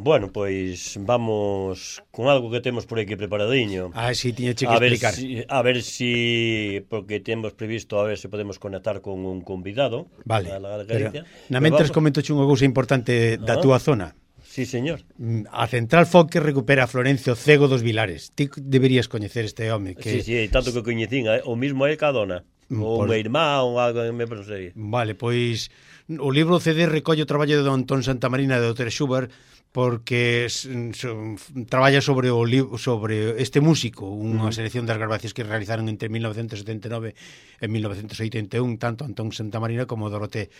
Bueno, pois vamos con algo que temos por aquí preparadiño. Sí, tiñeche que explicar. A ver si porque temos previsto a ver se podemos conectar con un convidado. Vale, pero na mentres comentoche unha cousa importante da túa zona. Sí, señor. A Central Folk recupera a Florencio Cego dos Vilares. Ti deberías coñecer este home que... Sí, tanto que coñecín, o mismo é Cadona. Ou meu irmán, ou algo, non sei. Vale, pois o libro CD recolle o traballo de Antón Santamarina e de Dr. Schubert, porque traballa sobre este músico, unha selección das grabacións que realizaron entre 1979 e 1981, tanto Antón Santamarina como Dorothée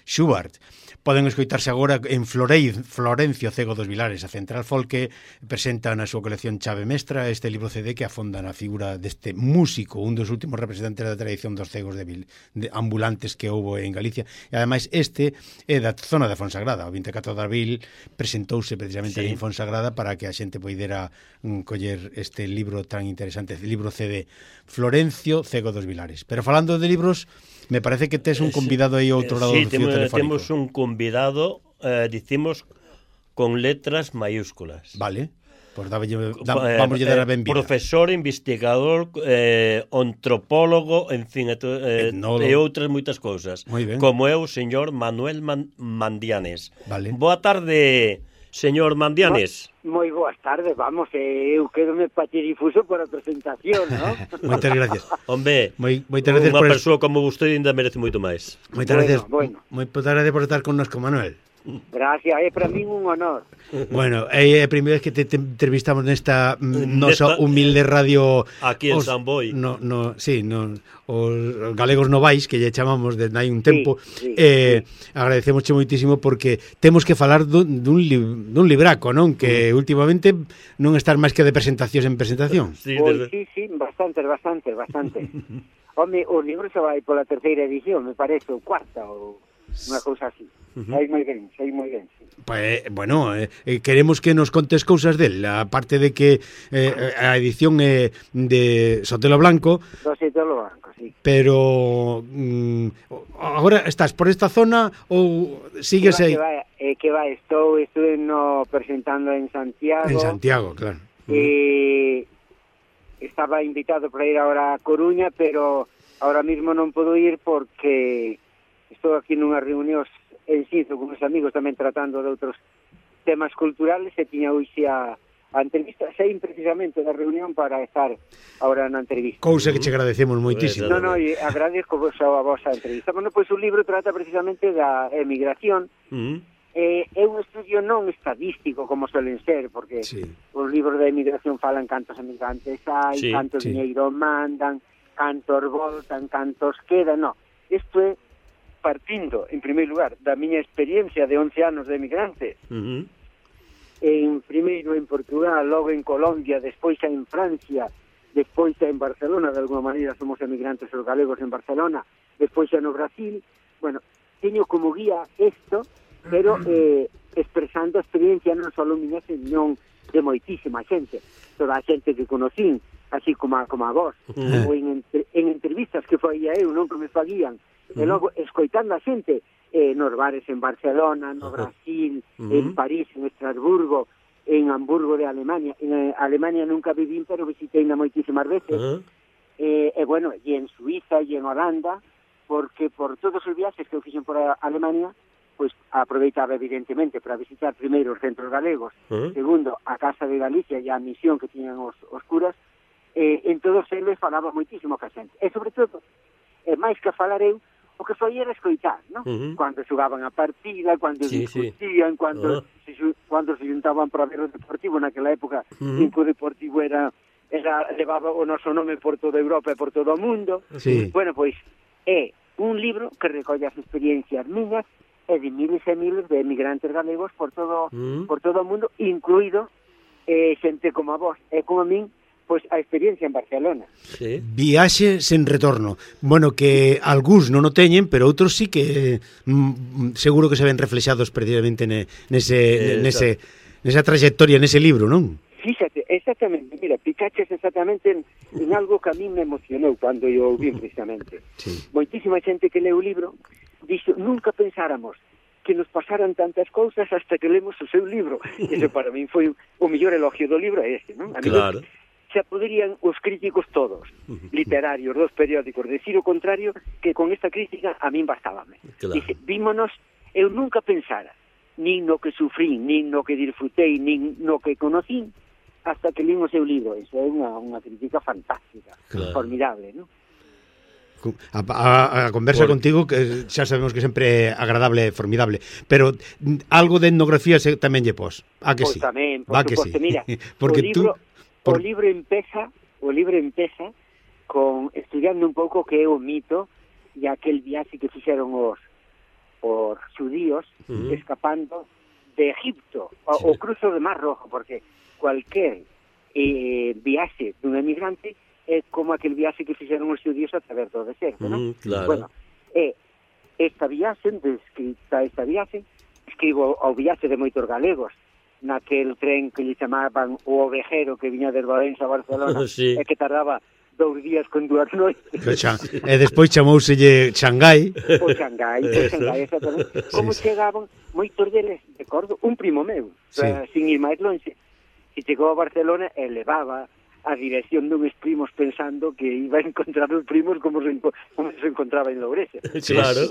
Schubert. Poden escoitarse agora en Florencio Cego dos Vilares. A Central Folk presenta na súa colección Chave Mestra este libro CD que afonda na figura deste músico, un dos últimos representantes da tradición dos cegos de ambulantes que houbo en Galicia. E ademais este é da zona de Fonsagrada. O 24 de abril presentouse precisamente en Fonsagrada para que a xente poidera coller este libro tan interesante, libro CD Florencio Cego dos Vilares. Pero falando de libros, me parece que tes un convidado aí ao outro lado do fío telefónico. Sí, temos un convidado, dicimos, con letras mayúsculas. Vale, pues vamos a dar a benvida. Profesor, investigador, antropólogo, en fin, e outras moitas cousas. Como é o señor Manuel Mandianes. Vale. Boa tarde, señor Mandianes. Moi boas tardes, vamos, eu quedome patidifuso por a presentación, ¿no? Moitas gracias. Hombre, moitas gracias unha persoa como vostede ainda merece moito máis. Moitas gracias. Moitas gracias por estar connosco, Manuel. Gracias, é para min un honor. Bueno, é a primeira vez que te entrevistamos nesta nosa humilde radio aquí en San Boi. Os galegos novais, que lle chamamos desde hai un tempo. Agradecemosche moitísimo porque temos que falar dun libraco, non? Que últimamente non estar máis que de presentacións en presentación. Sí, bastante. Home, o libro se vai pola terceira edición, me parece, ou cuarta, ou unha cousa así. Sei moi ben, sí. Pues, bueno, queremos que nos contes cousas del, aparte de que a edición é de Sotelo Blanco. Sotelo Blanco, sí. Pero agora estás por esta zona ou sigues aí? Estou presentando en Santiago. En Santiago, claro. Estaba invitado para ir ahora a Coruña, pero ahora mismo non podo ir porque estou aquí nunha reunión en Sizo con os amigos tamén tratando de outros temas culturales e tiña hoxe a entrevista, sei precisamente da reunión para estar ahora na entrevista. Cousa que che agradecemos moitísimo. E agradezco a vosa entrevista. Bueno, pois o libro trata precisamente da emigración. É un estudio non estadístico como suelen ser, porque os libros da emigración falan cantos emigrantes hai, cantos diñeiro mandan, cantos voltan, cantos quedan, isto é partindo, en primeiro lugar, da miña experiencia de 11 anos de emigrante, primeiro en Portugal, logo en Colombia, despois en Francia, despois en Barcelona, de alguma maneira somos emigrantes os galegos en Barcelona, despois no Brasil. Bueno, teño como guía isto, pero expresando a experiencia non só miña, senón de moitísima xente, toda a xente que conocín, así como a vos, ou en entrevistas que faía eu, non que me faguían, e logo escoitando a xente nos bares en Barcelona, no Brasil, en París, en Estrasburgo, en Hamburgo de Alemania. En Alemania nunca vivín, pero visitei moitísimas veces. E en Suiza e en Holanda, porque por todos os viaxes que eu fixen por Alemania, pois aproveitaba evidentemente para visitar primeiro os centros galegos, segundo a Casa de Galicia e a misión que tiñan os curas, en todos eles falaba moitísimo ca xente. E sobre todo, máis que falar eu, o que foi era escoitar, non? Cando xogaban a partida, cando discutían, cando se juntaban para ver o Deportivo, naquela época, o Deportivo levaba o noso nome por toda Europa e por todo o mundo. Bueno, pois, é un libro que recolle as experiencias miñas e de miles e miles de emigrantes galegos por todo o mundo, incluído xente como a vos e como a min, pois a experiencia en Barcelona. Viaxe sen retorno. Bueno, que algúns non o teñen, pero outros sí que seguro que se ven reflexados precisamente nesa trayectoria, nese libro, non? Fíxate, exactamente, mira, picaches exactamente en algo que a mí me emocionou cando eu vi precisamente. Moitísima xente que leu o libro dixo, nunca pensáramos que nos pasaran tantas cousas hasta que lemos o seu libro. Ese para min foi o mellor elogio do libro, é ese, non? Claro. Xa poderían os críticos todos, literarios, dos periódicos, decir o contrario, que con esta crítica a min bastábame. Claro. Dice, vímonos, eu nunca pensara, nin no que sufrín, nin no que disfrutei, nin no que conocín, hasta que lín o seu libro. Eso é unha crítica fantástica, formidable, non? A conversa contigo, que xa sabemos que sempre é agradable e formidable, pero algo de etnografía tamén lle pos. A que Pois sí? tamén, por suposto, mira, porque o libro empeza con estudiando un pouco que é o mito e aquel viaxe que fixeron os xudíos escapando de Egipto, o cruzo de Mar Rojo, porque cualquier viaxe dun emigrante é como aquel viaxe que fixeron os xudíos a través do deserto, non? Claro. Bueno, esta viaxe, escribo ao viaxe de moitos galegos, naquel tren que lle chamaban o ovejero que viña de Valens a Barcelona, sí. E que tardaba 2 días con 2 noites. E despois chamouselle Xangai. O Xangai, exactamente. Como chegaban moitos deles, recordo, un primo meu, sin ir máis longe, que chegou a Barcelona e levaba a dirección duns primos pensando que iba a encontrar os primos como se encontraba en Loureses. Claro.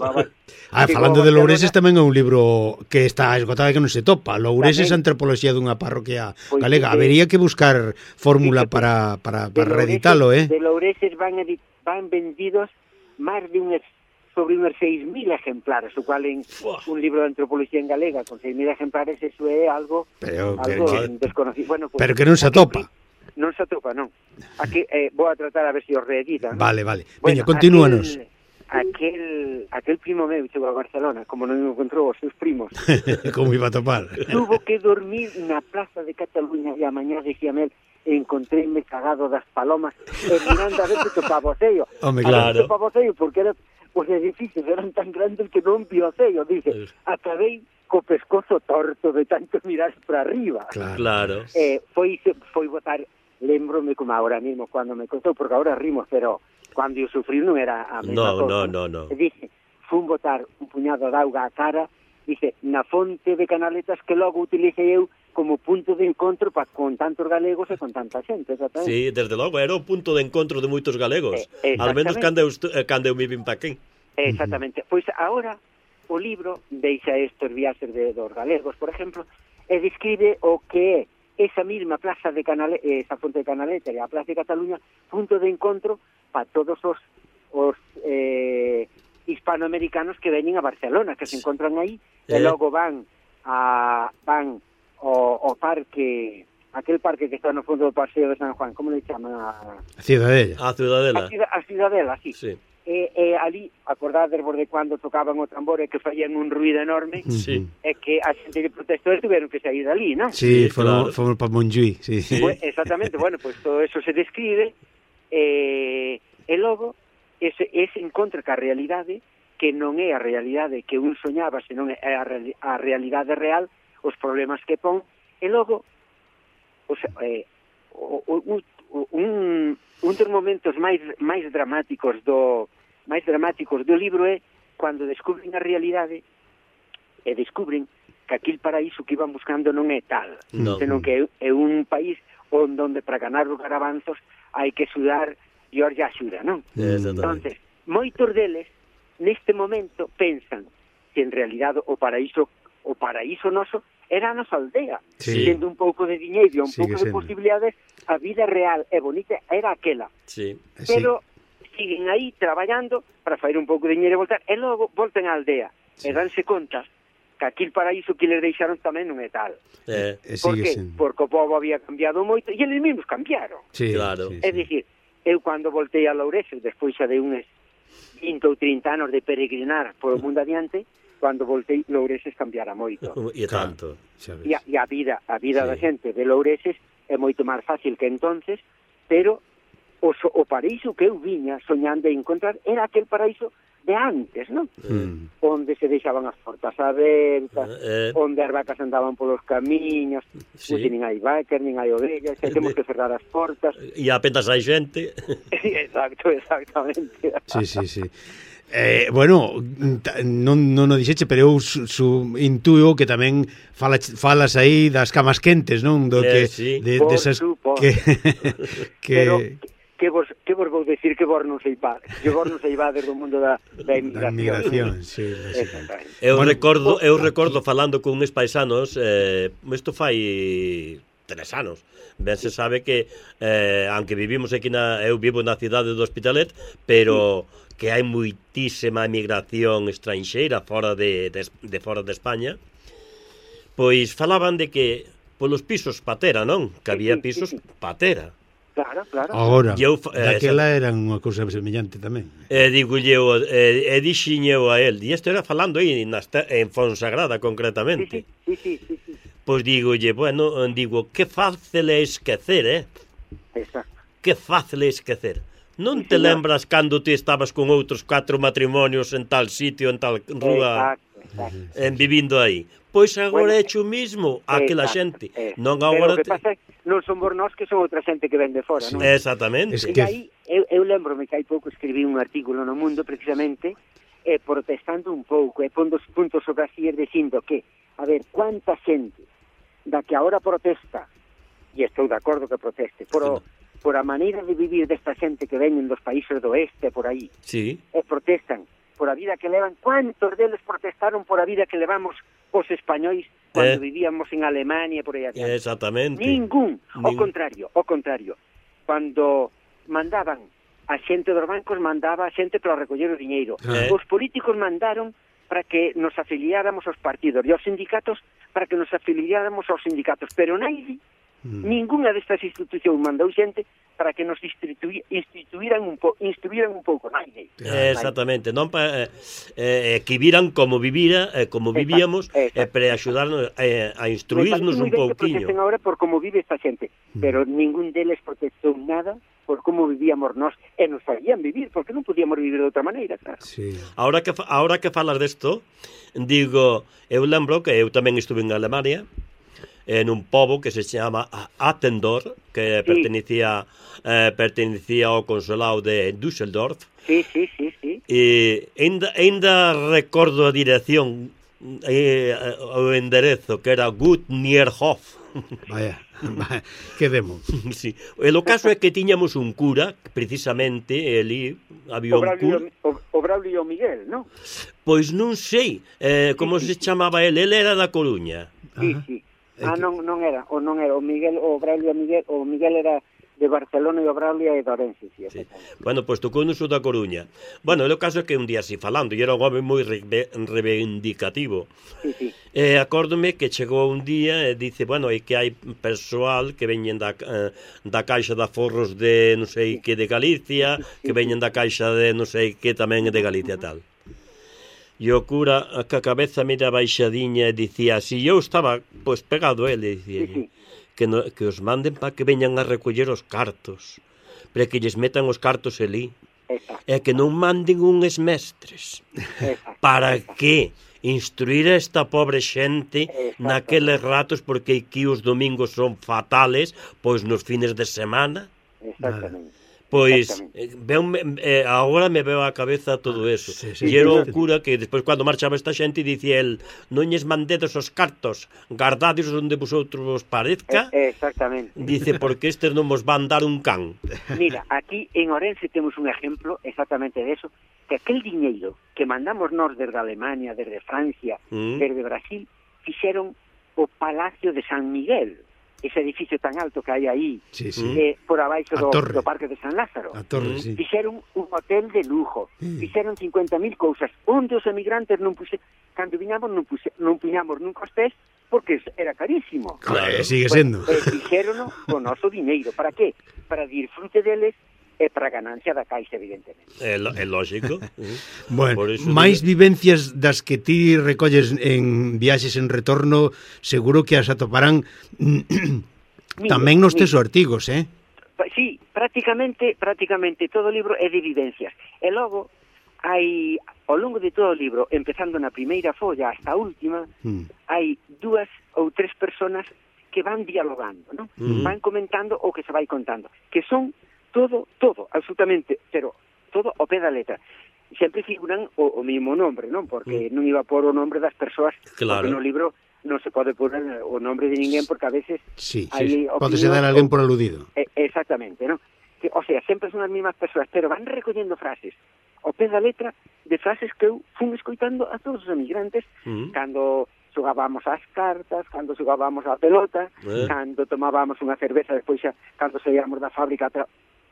Falando de Loureses tamén é un libro que está esgotado e que non se topa. Loureses, a antropoloxía dunha parroquia galega. Habería que buscar fórmula para reeditalo, De Loureses van vendidos máis de sobre unos 6.000 ejemplares, o cual en un libro de antropoloxía en galega con 6.000 ejemplares, eso é algo desconocido. Bueno, pues, pero que non se atopa. Non se atopa, non. Aquí vou a tratar a ver se os reeditan. Vale. Veña, continúanos. Aquel primo meu chegou a Barcelona, como non encontrou os seus primos. Como iba a topar? Tuvo que dormir na Plaza de Cataluña e a mañá dicíame el, encontréme cagado das palomas e mirando a ver se topaba o cello. Claro. Topaba o cello porque os edificios eran tan grandes que non vio o cello. Dice, acabei co pescozo torto de tanto mirar para arriba. Claro. Foi botar, lembrome como ahora mismo cando me contou, porque ahora rimos, pero cando eu sufrí non era a mesma cosa. No. Dice, fun botar un puñado de auga á cara, dice, na fonte de Canaletas que logo utilicei eu como punto de encontro con tantos galegos e con tanta xente. ¿Sabes? Sí, desde logo, era o punto de encontro de moitos galegos. Al menos cando eu me vin pa aquí. Exactamente. Pois agora o libro deixa estes viaxes dos galegos, por exemplo, e describe o que é esa mesma plaza de esa fonte de Canaleta e a Plaza de Cataluña, punto de encontro para todos os hispanoamericanos que veñen a Barcelona, que se encontran aí, e logo van ao parque, aquel parque que está no fondo do Paseo de San Juan, como le chaman? A Ciudadela. A Ciudadela. A Ciudadela, sí. Ali, acordades de cando tocaban o tambor e que faían un ruido enorme, e que a xente que protestou tiveron que sair dali, non? Sí, foron para Montjuïc, sí. Pues, exactamente, bueno, pues todo eso se describe, e logo ese encontra ca realidade, que non é a realidade que un soñaba, senón é a realidade real, os problemas que pon, e logo un dos momentos máis dramáticos do libro é cando descubren a realidade e descubren que aquel paraíso que iban buscando non é tal, senón que é un país onde para ganar os garabanzos hai que sudar e os ya xuda, non? Entonces, moitos deles neste momento pensan que en realidade o paraíso noso era a nosa aldea, tendo un pouco de diñeiro, un pouco de posibilidades, a vida real e bonita era aquela. Pero siguen aí traballando para fazer un pouco de diñeiro e voltar, e logo volten á aldea e danse conta que aquel paraíso que les deixaron tamén non é tal. Por que? Porque o povo había cambiado moito e eles mesmos cambiaron. É dicir, eu cando voltei a Loureses, despois xa de uns 20 ou 30 anos de peregrinar por o mundo adiante, cando voltei, Loureses cambiara moito. E tanto. E a vida da xente de Loureses é moito máis fácil que entonces, pero o paraíso que eu viña soñando de encontrar era aquel paraíso de antes, non? Onde se deixaban as portas abertas, onde as vacas andaban polos camiños, nin hai vacas, nin hai ovellas, temos que cerrar as portas. E apenas hai xente. Exactamente. Sí. Bueno, non o dixeche, pero eu intuo que tamén falas aí das camas quentes, non? Do que sí. Desas que vos vou decir que vos non sei vades do mundo da emigración. Sí. Eu recordo falando con uns paisanos, isto fai 3 anos. Ben se sabe que aunque vivimos aquí eu vivo na cidade do Hospitalet, pero que hai moitísima emigración estranxeira fora de fora de España. Pois falaban de que polos pisos patera, non? Que había pisos patera. Claro. Agora, daquela eran unha cousa semellante tamén. Dixen eu a él, e isto era falando aí en Fonsagrada concretamente. Sí. Pois digolle, que fácil é esquecer, Exacto. Que fácil é esquecer. Non te lembras cando ti estabas con outros 4 matrimonios en tal sitio, en tal rúa, vivindo aí? Pois agora é o mismo aquela xente. Non agora. Pero o que pasa é que non son por nós, que son outra xente que ven de fora, non? Exactamente. E aí, eu lembro-me que hai pouco escribí un artículo no Mundo precisamente protestando un pouco, pondo os puntos sobre as IES dicindo que, a ver, cuánta xente da que agora protesta, e estou de acordo que proteste, por a maneira de vivir desta xente que veñen dos países do oeste, por aí, protestan por a vida que levan. Cuántos deles protestaron por a vida que levamos os españois cando vivíamos en Alemania, por aí adiante? Exactamente. Ningún. Ao contrario. Cando mandaban a xente dos bancos, mandaba a xente para recoller o diñeiro. Os políticos mandaron para que nos afiliáramos aos partidos e aos sindicatos para que nos afiliáramos aos sindicatos, pero ninguna destas institucións mandou xente para que nos instruíran un pouco, naide. Exactamente, non que viran como vivíamos para axudarnos a instruirnos un pouquiño. Me agora por como vive esta xente, pero ningún deles protestou nada por como vivíamos nós, e nos farían vivir, porque non podíamos vivir de outra maneira, claro. Sí. Ahora que falas desto, digo, eu lembro que eu tamén estuve en Alemania, en un pobo que se chama Attendorf, que pertenecía ao consulado de Düsseldorf. Sí. E ainda recordo a dirección, o enderezo, que era Gut Nierhof. Vaya, que demo. Sí. E o caso é que tiñamos un cura, precisamente, ali había un cura. O Braulio Miguel, non? Pois non sei como se chamaba ele era da Coruña. Sí. Non era o Miguel, o Miguel era de Barcelona e o Braulio é de Ourense, sí. Bueno, pois tocou no sur da Coruña. Bueno, o caso é que un día así falando, e era un home moi reivindicativo. Sí. Acórdome que chegou un día e dice, é que hai persoal que veñen da Caixa de Aforros de non sei que de Galicia, que veñen da Caixa de non sei que tamén de Galicia tal. E o cura, que a cabeza mira baixadiña, e dicía, si eu estaba, pegado ele, dicía, que os manden para que veñan a recoller os cartos, para que lles metan os cartos ali, e que non manden uns mestres. Para que instruir a esta pobre xente naqueles ratos, porque aquí os domingos son fatales, pois nos fines de semana. Exactamente. Pois, agora me veo a cabeza todo eso. E era o cura que despois, cando marchaba esta xente, dicía el, non lles mandedes os cartos, guardades onde vosotros vos parezca. Exactamente. Dice, porque estes non vos van dar un can. Mira, aquí en Ourense temos un exemplo exactamente de eso, que aquel diñeiro que mandamos nós desde Alemania, desde Francia, desde Brasil, fixeron o Palacio de San Miguel, ese edificio tan alto que hai aí, por abaixo do Parque de San Lázaro. Fixeron un hotel de lujo, fixeron 50.000 cousas, onde os emigrantes cando viñamos non puñamos nunca os pés, porque era carísimo. Claro, sigue sendo. Fixérono con noso diñeiro. Para que? Para disfrute deles e para a ganancia da Caixa, evidentemente. É lógico. Bueno, máis vivencias das que ti recolles en viaxes en retorno, seguro que as atoparán tamén nos teus artigos, Sí, prácticamente todo o libro é de vivencias. E logo, hai, ao longo de todo o libro, empezando na primeira folla hasta a última, hai 2 ou 3 personas que van dialogando, ¿no? Van comentando o que se vai contando, que son todo, absolutamente, pero todo ao pé da letra. sempre figuran o mesmo nombre, non? Porque non iba por o nombre das persoas, Claro. porque no libro non se pode poner o nombre de ninguén, porque a veces Sí, hai pódese dar a alguén por aludido. Exactamente, non? Que, o sea, sempre son as mesmas persoas, pero van recollendo frases ao pé da letra de frases que eu fun escoitando a todos os emigrantes cando xogábamos as cartas, cando xogábamos a pelota, cando tomábamos unha cerveza, despois xa, cando saíamos da fábrica,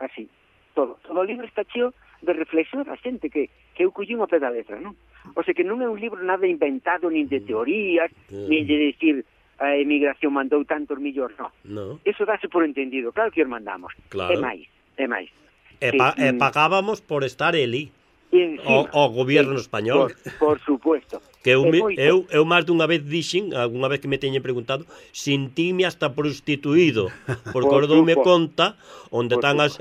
así, todo o libro está cheo de reflexión da xente que eu collín ao pé da letra, non? O sea que non é un libro nada inventado, nin de teorías, nin de decir a emigración mandou tantos millóns, non. Eso dáse por entendido, claro que os mandamos. Claro. É máis. E pagábamos por estar eli. O goberno español. Por supuesto. Que eu máis dunha vez dixen, algunha vez que me teñen preguntado, sintime hasta prostituído, porque os doume conta onde están as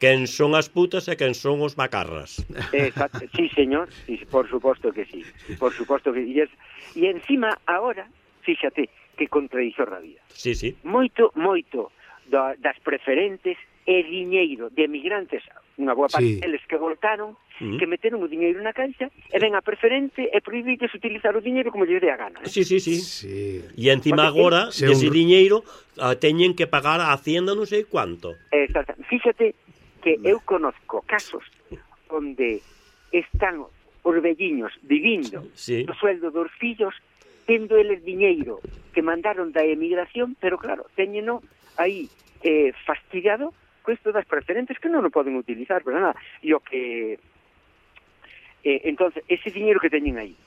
quen son as putas e quen son os macarras. Exacto. Sí, señor, sí, por suposto que sí. Por suposto que sí. E encima, agora, fíxate, que contradicción a vida. Sí, sí. Moito das preferentes e diñeiro de emigrantes, unha boa parte deles que voltaron, que meteron o diñeiro na caixa, e ven a preferente e prohibides utilizar o diñeiro como lle dé a gana. Sí. E encima agora, ese diñeiro teñen que pagar a Hacienda non sei cuánto. Exacto. Fíxate que eu conozco casos onde están os velliños vivindo do sueldo dos fillos, tendo eles diñeiro que mandaron da emigración, pero claro, teñeno aí fastidiado co isto das preferentes que non o poden utilizar, pero nada. E o que entonces, ese diñeiro que teñen aí,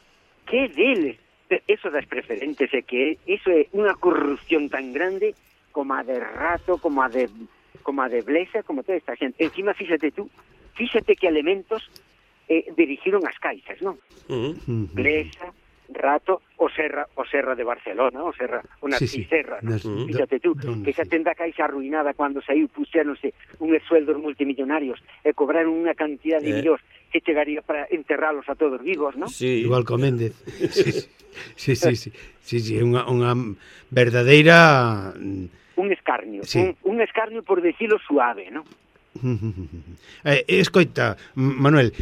que deles, eso das preferentes, é que eso é unha corrupción tan grande como a de Rato, como a de Blesa, como toda esta xente. Encima, fíxate que elementos dirigiron as caixas, non? Blesa, Rato, o Serra de Barcelona, unha Serra, fíxate tú, que xa tenda a caixa arruinada cando saiu, puxéronse uns sueldos multimillonarios e cobraron unha cantidad de millóns que chegaría para enterralos a todos vivos, non? Sí. Igual co Méndez. Sí, unha verdadeira... Un escarnio, un escarnio por decirlo suave, non? Escoita, Manuel,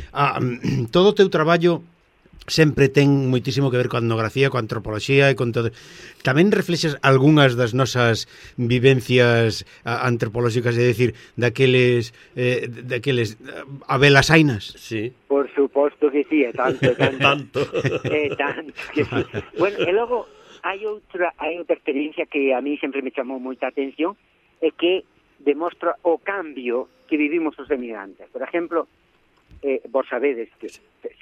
todo o teu traballo sempre ten moitísimo que ver coa etnografía, coa antropoloxía e con todo. Tamén reflexas algunhas das nosas vivencias antropolóxicas, é dicir, daqueles abelasainas? Sí. Por suposto que sí, tanto que sí. Bueno, e logo hai outra experiencia que a mí sempre me chamou moita atención, é que demostra o cambio que vivimos os emigrantes. Por exemplo, vos sabedes que,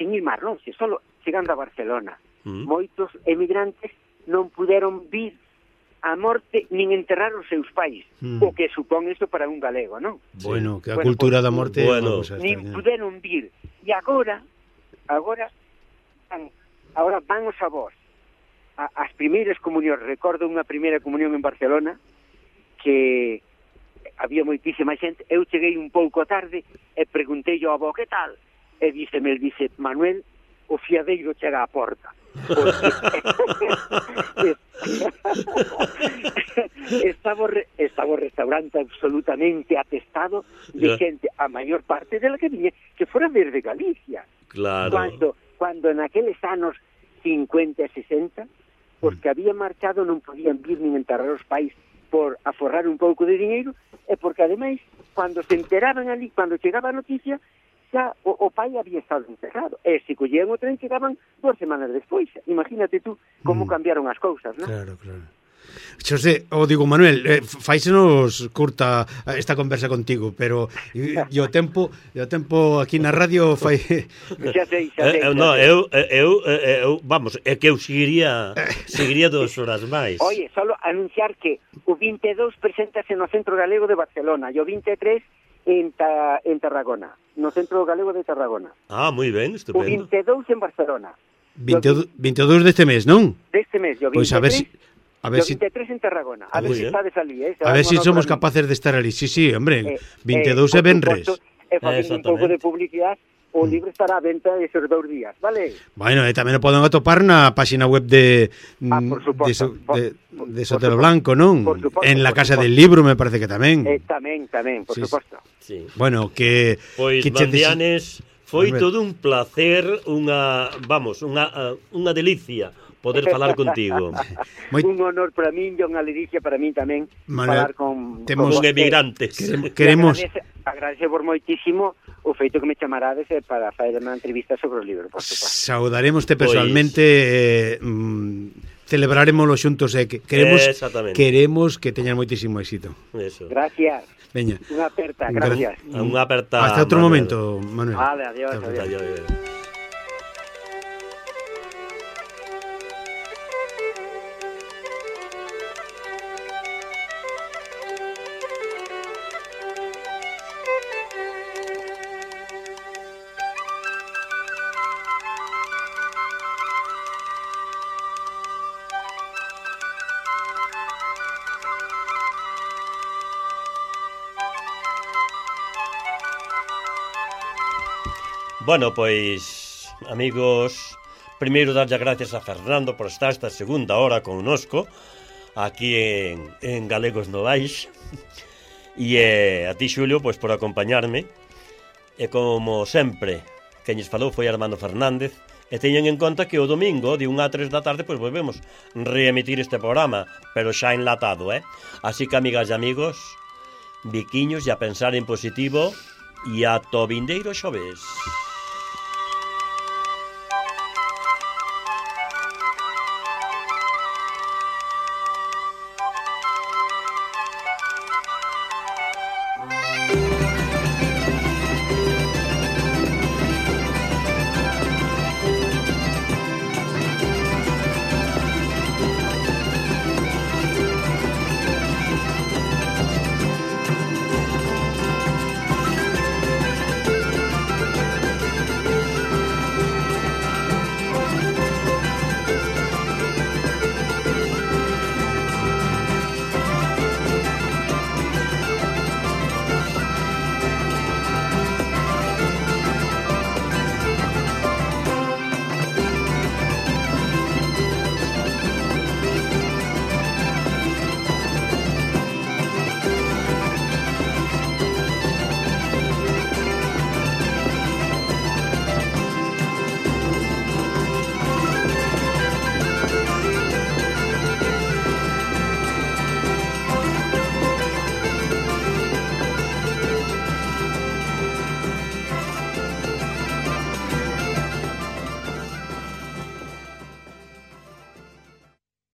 sin ir máis longe, solo chegando a Barcelona, moitos emigrantes non puderon vir a morte nin enterrar os seus pais, o que supón isto para un galego, non? Bueno, que a cultura da morte nin puderon vir. E agora van os avós as primeiras comunións. Recordo unha primeira comunión en Barcelona que había moitísima xente. Eu cheguei un pouco tarde e preguntei ao avó, que tal? E dice Manuel, o fiadeiro chega á porta. Estaba o restaurante absolutamente atestado de xente, a maior parte dela que viña, que fora desde Galicia. Claro. Cuando naqueles anos 50 e 60, os que habían marchado non podían vir nin enterrar os pais por aforrar un pouco de diñeiro, e porque ademais, cando se enteraban ali, cando chegaba a noticia, xa o pai había estado enterrado, e se collían o tren chegaban 2 semanas despois. Imagínate tú como cambiaron as cousas, non? Claro. Xosé, digo, Manuel, fáisenos curta esta conversa contigo, pero o tempo aquí na radio fai... Xa sei. Vamos, é que eu seguiría 2 horas máis. Oye, solo anunciar que o 22 preséntase no Centro Galego de Barcelona e o 23 en Tarragona, no Centro Galego de Tarragona. Ah, moi ben, estupendo. O 22 en Barcelona. 22 deste mes, non? Deste mes, o 23... Pois a ver si 23 en Tarragona. A ver si estades ali, A ver si somos capaces de estar ali. Sí, hombre, 22 é venres. E facendo un pouco de publicidade, o libro estará a venta esos 2 días, vale? Bueno, tamén o poden atopar na página web de Sotelo Blanco, non? En la Casa del Libro, me parece que tamén. Tamén, por suposto. Sí. Bueno, que... Pois, Mandianes, Foi Albert. todo un placer, unha delicia poder falar contigo. Moi- Un honor para min e unha ledicia para min tamén Manuel, falar con temos- Un vostede. emigrante. Queremos Agradecemos moitísimo o feito que me chamarades para fazer unha entrevista sobre o libro, por suposto. saudaremoste Pois- personalmente, celebraremoslo xuntos e queremos Exactamente. que teñan moitísimo éxito. Eso. Gracias. Veña. Unha aperta, gracias. Unha aperta. Hasta outro Manuel. momento, Manuel. Vale, adiós, Hasta adiós. Adiós. Bueno, pois, amigos, primeiro darlle gracias a Fernando por estar esta segunda hora connosco aquí en Galegos Novais e a ti, Xulio, pois por acompañarme e como sempre quen lles falou foi Armando Fernández e teñen en conta que o domingo de 1 a 3 da tarde pois volvemos reemitir este programa, pero xa enlatado, Así que, amigas e amigos, biquiños e a pensar en positivo e ata o vindeiro xoves.